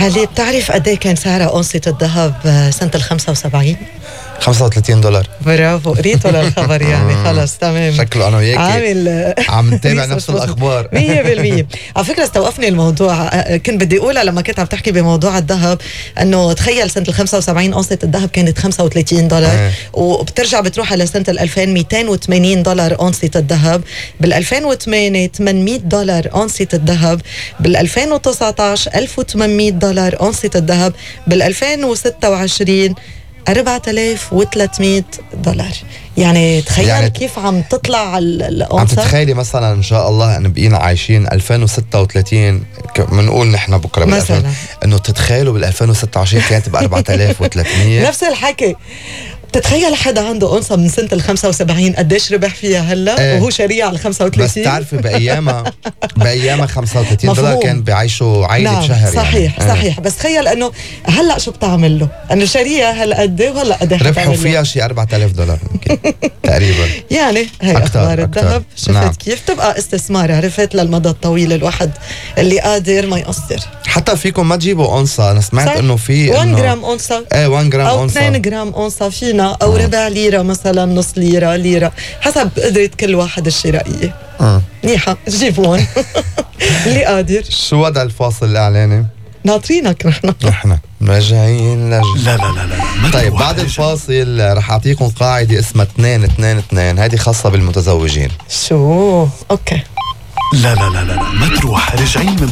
علي، بتعرف قد ايه كان سعرها أونصة الذهب سنة ال75؟ $35. برافو، قريته للخبر يعني. خلص تمام، شكله أنا وياك عامل عم نتابع نفس الأخبار 100%. على فكرة استوقفني الموضوع، كنت بدي أقولها لما كنت عم تحكي بموضوع الذهب، أنه تخيل سنة ال75 أونصة الذهب كانت $35، وبترجع بتروح على سنة ال2000 $280 أونصة الذهب، بال2008 $800 أونصة الذهب، بال2019 $1800 أونصة الذهب، بال2026 $4300. يعني تخيل يعني كيف عم تطلع الأونصة. عم تتخيلي مثلا إن شاء الله أن بقينا عايشين 2036 منقول نحن بكرة مثلا أنه تتخيلوا بال2026 كانت ب4300. نفس الحكي. تتخيل حدا عنده أونصة من سنة ال75 قديش ربح فيها هلأ وهو شريع على 35. بس تعرفي بأيامها $35 كان بيعيشوا عائلة نعم شهر. صحيح يعني. صحيح. بس تخيل أنه هلأ شو بتعمل له، أنه شريعة هلأ قد ايه وهلأ قد ايه ربحوا فيها شيء $4000 تقريبا. يعني هي أخبار الذهب. شفت نعم. كيف تبقى استثمار، عرفت، للمدى الطويل، الواحد اللي قادر ما يقصر. حتى فيكم ما تجيبوا أونصة. أنا سمعت أنه في 1 جرام أونصة 1 جرام أو أونصة 2 جرام أونصة فينا، أو ربع ليرة مثلا، نص ليرة حسب قدرة كل واحد الشرائية. منيحة، جيبون اللي قادر. شو وضع الفاصل الإعلاني؟ ناطرينك نحن راجعين لا طيب بعد الفاصل رح أعطيكم قاعدة اسمها 2-2-2. هذه خاصة بالمتزوجين. شو؟ أوكي. لا ما تروح، راجعين من